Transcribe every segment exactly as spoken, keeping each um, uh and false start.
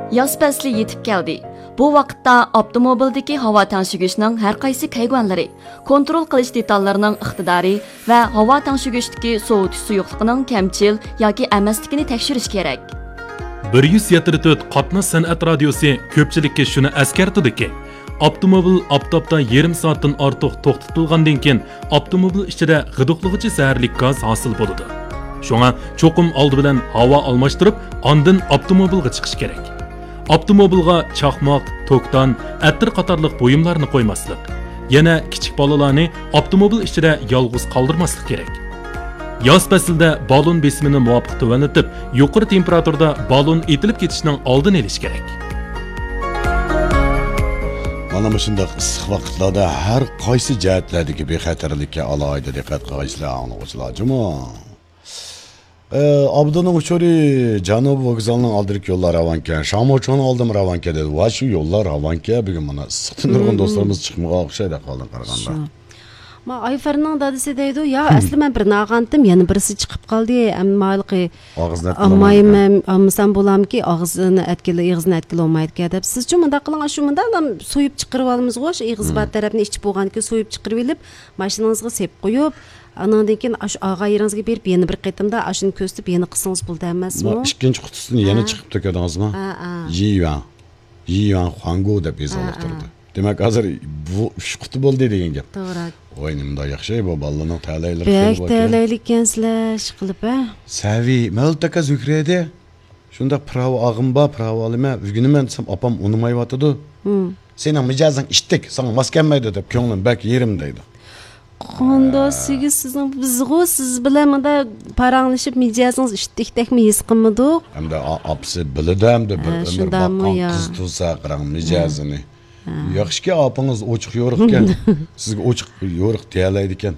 ياز پەسلى يېتىپ كەلدى. بۇ ۋاقىتتا ئاپتوموبىلدىكى ھاۋا تەڭشىگۈچنىڭ ھەر قايسى كەيگۈەنلىرى، كونترول قىلىش دېتاللىرىنىڭ ئىقتىدارى ۋە ھاۋا تەڭشىگۈچتىكى سوۋۇتۇش سۇيۇقلۇقىنىڭ كەمچىل ياكى ئەمەسلىكىنى تەكشۈرۈش كېرەك. بىر يۈز يەتتە تۆت قاتناش سەنئەت رادىيوسى كۆپچىلىككە شۇنى ئەسكەرتىدۇكى، ئاپتوموبىل ئاپتاپتا يېرىم سائەتتىن ئارتۇق توختىتىلغاندىن كېيىن، ئاپتوموبىل ئىچىدە غىدىقلىغۇچى زەھەرلىك گاز ھاسىل بولىدۇ. شۇڭا چوقۇم ئالدى بىلەن ھاۋا ئالماشتۇرۇپ، ئاندىن ئاپتوموبىلغا چىقىش كېرەك. ئاپتوموبىلغا چاقماق، توكتان، ئەتىر قاتارلىق بۇيۇملارنى قويماسلىق. يەنە كىچىك بالىلارنى ئاپتوموبىل ئىچىدە يالغۇز قالدۇرماسلىق كېرەك. ياز پەسلىدە بالون بېسىمىنى مۇۋاپىق تۆۋەنلىتىپ، يۇقىرى تېمپېراتۇرىدا بالون ئېتىلىپ كېتىشنىڭ ئالدىنى ئېلىش كېرەك. مانا مۇشۇنداق ئىسسىق ۋاقىتلاردا ھەر قايسى جەھەتلەردىكى بىخەتەرلىككە ئالاھىدە دىققەت قىلغايسىلەر، ئاڭلىغۇچىلار جۇمۇ. ئابدۇنىڭ ئۇچۇرى جەنۇبىي ۋوگزالنىڭ ئالدىدىكى يوللار راۋانكەن، شاڭمۇچۇڭنىڭ ئالدىمۇ راۋانكەن دېدى. ۋاي شۇ يوللار راۋانكەن، بۈگۈن مانا ئىسسىقتىن نۇرغۇن دوستلىرىمىز چىقمىغان ئوخشايدۇ ئەھۋالدىن قارىغاندا. شۇ. ما ئايفەرنىڭ دادىسى دەيدۇ، يا ئەسلى مەن بىرنى ئالغانتىم، يەنە بىرسى چىقىپ قالدى. ئەمما ھېلىقى ئاغزىنى ئەتكىلى ئالمايمەن، ئالمىسام بولامكى، ئاغزىنى ئەتكىلى، ئېغىزىنى ئەتكىلى بولمايدىكەن دەپ. سىزچۇ مۇنداق قىلىڭ، شۇ مۇنداق سويۇپ چىقىرىۋالىمىزغۇ، شۇ ئېغىزى بار تەرەپنى ئىچىپ بولغاندىن كېيىن سويۇپ چىقىرىۋېلىپ، ماشىنىڭىزغا سېلىپ قويۇپ، ئانىڭدىن كېيىن ئاشۇ ئاغا يېرىڭىزگە بېرىپ يەنە بىر قېتىمدا ئاشۇنى كۆرسىتىپ يەنە قىلسىڭىز بولىدۇ ئەمەسمۇ؟ ئىككىنچى قۇتىسىنى يەنە چىقىپ تۆكەدىڭىزمۇ؟ يى يۈەن، يى يۈەن خۇاڭگۇ دەپ يېزىلىپ تۇرىدۇ. دېمەك، ھازىر بۇ ئۈچ قۇتى بولدى دېگەن گەپ. توغرا. ۋاي، نېمانداق ياخشى بۇ بالىلارنىڭ تەلەيلىرى بەك خېلى باركەن. تەلەيلىككەنسىلەر، ئىشقىلىپ، ھە؟ سەۋىي، مەۋلۇت ئاكا زۆھرە ئىدى. شۇنداق پىراۋا ئاغىم بار، پىراۋا ئالىمەن، ئۆگىنىمەن دېسەم، ئاپام ئۇنىمايۋاتىدۇ. سېنىڭ مىجەزىڭ ئىتتىك، ساڭا ماس كەلمەيدۇ دەپ، كۆڭلۈم بەك يېرىم دەيدۇ. قانداق سىگىز سىزنىڭ، بىزغۇ سىز بىلەن مۇندا پاراڭلىشىپ، مىجەزىڭىز ئىتتىكتەكمۇ ھېس قىلمىدۇق. ئەمدى ئا-، ئاپىسى بىلىدۇ ئەمدى، بىر ئۆمۈر باققان قىز تۇرسا قاراڭ مىجەزىنى. ياخشىكى، ئاپىڭىز ئوچۇق يورۇقكەن. سىزگە ئوچۇق يورۇق دېيەلەيدىكەن.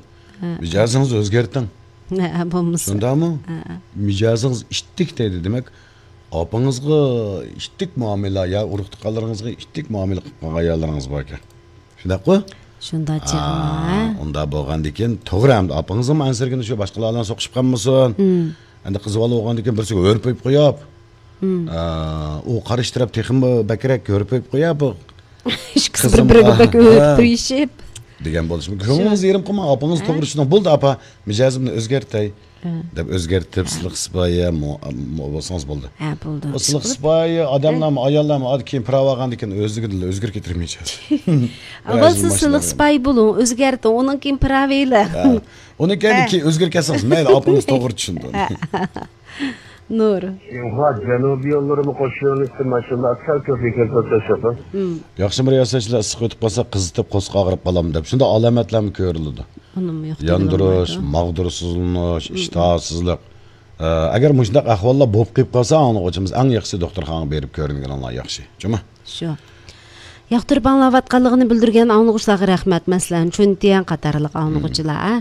مىجەزىڭىزنى ئۆزگەرتىڭ. ھە، بولمىسا. شۇنداقمۇ؟ ھە. مىجەزىڭىز ئىتتىك دەيدۇ. دېمەك، ئاپىڭىزغا ئىتتىك مۇئامىلە يا ئۇرۇق-تۇغقانلىرىڭىزغا ئىتتىك مۇئامىلە قىلىپ قالغان ئاياللىرىڭىز باركەن. شۇنداققۇ؟ شۇنداق چېغىڭ، ھە؟ ئۇنداق بولغاندىكىن توغرا، ئەمدى ئاپىڭىزمۇ ئەنسىرىگىنى شۇ باشقىلار بىلەن سوقۇشۇپ قالمىسۇن. ئەمدى قىز بالا بولغاندىكىن بىرسىگە ھۆرپىيىپ قويۇپ، ئا، ئۇ قارشى تەرەپ تېخىمۇ بەكرەك ھۆرپىيىپ قويۇپ، ئىككىسى بىر-بىرىگە بەك ئۆتۈپ تۇرۇشۇپ. دېگەن بولۇشى مۇمكىن. كۆڭلىڭىزنى يېرىم قىلماڭ، ئاپىڭىز توغرا چۈشىنىڭ. بولدى، ئاپا، مىجەزىمنى ئۆزگەرتەي، دەپ ئۆزگەرتىپ، سىلىق سىپايە مو-، مو-، بولسىڭىز بولدى. ھە، بولدى. ئۇ سىلىق سىپايە ئادەملەرمۇ، ئاياللارمۇ ئادەم كېيىن پىراۋا ئالغاندىن كېيىن ئۆزلۈكىدىنلا ئۆزگىرىپ كېتىدۇ مىجەز. ئاۋۋال سىز سىلىق سىپايە بولۇڭ، ئۆزگەرتىڭ، ئۇنىڭ كېيىن پىراۋا ئېلىڭ. ھە. ئۇنىڭ كەينىدىن كېيىن ئۆزگىرىپ كەتسىڭىز مەيلى، ئاپىڭىز توغرا چۈشىنىدۇ. نۇر. شىنخۇا جەنۇبىي يوللىرىمۇ قوش يۆنىلىشتە ماشىنىلار سەل كۆپ ئىكەن، توختاش يوقمۇ؟ ياخشىمۇ رىياسەتچىلەر ئىسسىق ئۆتۈپ قالسا قىزىتىپ قورسىقى ئاغرىپ قالامدۇ دەپ شۇنداق ئالامەتلەرمۇ كۆرۈلىدۇ. ئۇنىمۇ يوق دېگىلى بولمايدۇ. ياندۇرۇش، ماغدۇرسىزلىنىش، ئىشتىھاسىزلىق. ئە، ئەگەر مۇشۇنداق ئەھۋاللار بولۇپ قېلىپ قالسا، ئاڭلىغۇچىمىز ئەڭ ياخشىسى دوختۇرخانىغا بېرىپ كۆرۈنگىنىڭلار ياخشى. جۇمۇ؟ شۇ. ياقتۇرۇپ ئاڭلاۋاتقانلىقىنى بىلدۈرگەن ئاڭلىغۇچىلارغا رەھمەت، مەسىلەن، چۈنتيەن قاتارلىق ئاڭلىغۇچىلار، ئە؟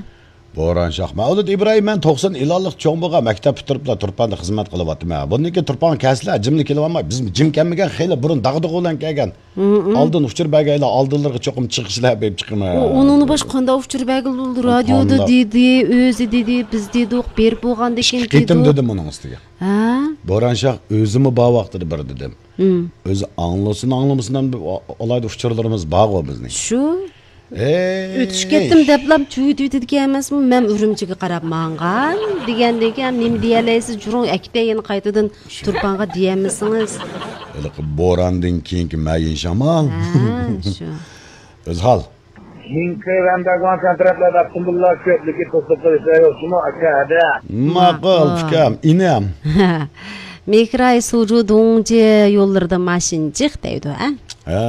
بوران شاھ. مەۋلۇت ئىبراھىم، مەن توقسان ئىلانلىق چوڭ بولغان مەكتەپ پۈتتۈرۈپلا تۇرپاندا خىزمەت قىلىۋاتىمەن. بۇندىن كېيىن تۇرپانغا كەلسىلە، جىملا كېلىۋالماي، بىزمۇ جىم كەلمىگەن، خېلى بۇرۇن داغدۇغا بىلەن كەلگەن. ئالدىن ئۇچۇر بەرگەيلا، ئالدىلىرىغا چوقۇم چىقىشلا بېرىپ چىقىمەن. ئۇ ئۇنىڭدىن باشقا قانداق ئۇچۇر بەرگىلى بولىدۇ؟ رادىيودا دېدى، ئۆزى دېدى، بىز دېدۇق، بېرىپ بولغاندىن كېيىن دېدۇق. ئىككى قېتىم دېدىم ئۇنىڭ ئۈستىگە. ھە؟ بوران شاھ ئۆزىمۇ بار ۋاقتىدا بىر دېدىم. ئۆزى ئاڭلىسۇن، ئاڭلىمىسۇن، ئەمدى ئالاھىدە ئۇچۇرلىرىمىز بارغۇ بىزنىڭ. شۇ. ئۆتۈشۈپ كەتتىم دەپلا چۈۋۈتۈۋېتىدىكەن ئەمەسمۇ، مەن ئۈرۈمچىگە قاراپ ماڭغان دېگەندىن كېيىن نېمە دېيەلەيسىز، جۇرۇڭ ئەكېتەي يەنە قايتىدىن تۇرپانغا دېيەلمىسىڭىز. ھېلىقى بوراندىن كېيىنكى مەيىن شامال. ھە، شۇ. ئۆزھال. مىڭكې ۋەنداگۋان سەن تەرەپلەردە ئاپتوموبىللار كۆپلۈكى توسۇپ قېلىشلار يوقچىمۇ، ئاكا، ھەدە؟ ماقۇل، ئۇكام، ئىنىم. مېكراي سۇجۇ دۇڭجى يوللىرىدا ماشىنا جىق دەيدۇ، ھە؟ ھە،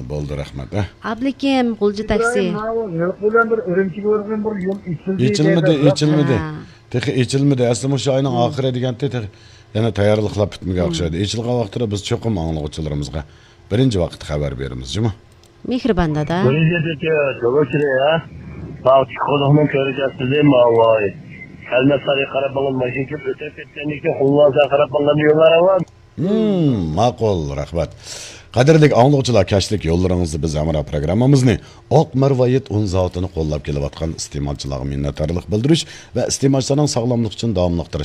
بولدى، رەھمەت، ھە. ئابلىكىم، غۇلجا تاكسى. ئىبراھىم، ماۋۇ نىلقا بىلەن بىر ئۈرۈمچىگە بارىدىغان بىر يول ئېچىلدى ئېچىلمىدى، دەيدۇ. ئېچىلمىدى. ھە. تېخى ئېچىلمىدى. ئەسلى مۇشۇ ئاينىڭ ئاخىرى دېگەنتى، تېخى يەنە تەييارلىقلار پۈتمىگەن ئوخشايدۇ. ئېچىلغان ۋاقتىدا بىز چوقۇم ئاڭلىغۇچىلىرىمىزغا بىرىنچى ۋاقىتتا خەۋەر بېرىمىز، جۇمۇ. مېھرىبان دادا. بىرىنچى تېكى تۆگىچىلى، ھە؟ باغ چىققۇدۇقنىڭ كۆرگەزمىسى، ماۋاي. كەلمەس سارىيى قاراپ ماڭغان ماشىنا كېلىپ ئۆتۈپ كەتكەندىن كېيىن، خۇللاسا قاراپ ماڭغان يوللار ئاۋام. ھىم، ماقۇل، رەھمەت. قەدىرلىك ئاڭلىغۇچىلار، كەچلىك يوللىرىڭىزدا بىز ھەمراھ پروگراممىمىزنى ئاق مەرۋايىت ئۇن زاۋۇتىنى قوللاپ كېلىۋاتقان ئىستېمالچىلارغا مىننەتدارلىق بىلدۈرۈش ۋە ئىستېمالچىلارنىڭ ساغلاملىقى ئۈچۈن داۋاملىق